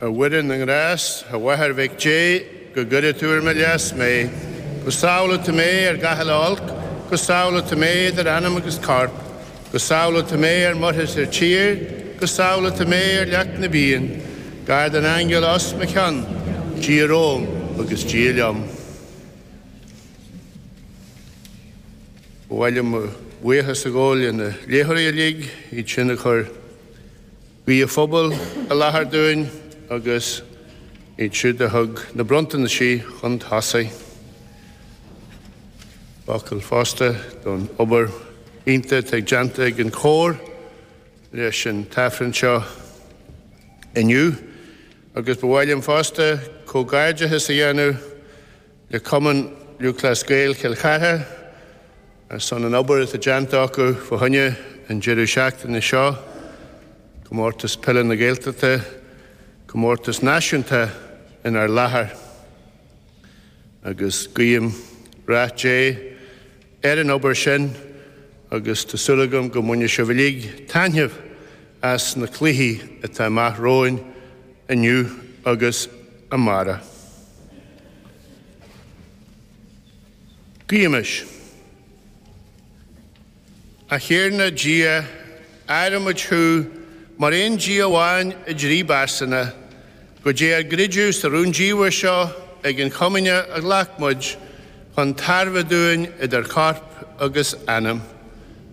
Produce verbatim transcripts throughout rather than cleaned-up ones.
A Mhuire na nGrást, a Mháthair Mhic Dé, go gcuire tú ar mo leas mé, go sábhála tú mé ar gach uile olc, go sábhála tú mé idir anam agus corp, go sábhála tú mé ar muir is ar tír, go sábhála tú mé ar leac na bpian, gar don aingeal os mo chionn, Dia romham agus Dia liom. Ba mhaith liom mo bhuíochas a ghabháil le na léitheoirí uilig, iad sin a chuir Guí an Phobail i láthair dúinn agus iad siúd a thug na bronntanaisí chun tosaigh. Focal fosta don obair iontach atá déanta ag an chór leis an t-aifreann seo inniu. Agus ba mhaith liom fosta comhghairdeachas a dhéanamh le Cumann Lúthchleas Gael Chill Chartha ar son an obair atá déanta acu fá choinne an deireadh seachtaine seo. Comórtas Peile na Gaeltachta, comórtas náisiúnta inár láthair. Agus guím rath Dé ar an obair sin agus tá súil agam go mbainfidh sibh uilig taitneamh as na cluichí atá amach romhainn inniu agus amárach. Guímis. A Thiarna Dia, adhraimid thú mar aon Dia amháin i dtrí bpearsana, go dté ár gcreideamh sa rúndiamhair seo ag an chomaoine a ghlac muid chun tairbhe dúinn idir chorp agus anam.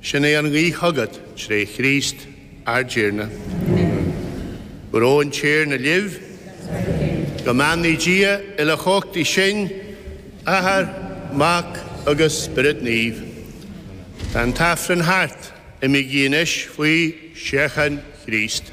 Sin é ár nguí chugat tré Chríost ár dTiarna. Go raibh an Tiarna libh. Go mbeannaí Dia uilechumhachtaí sinn, Athair, Mac agus Spiorad Naomh. Tá an t-aifreann thart, imígí anois faoi shíocháin Chríost.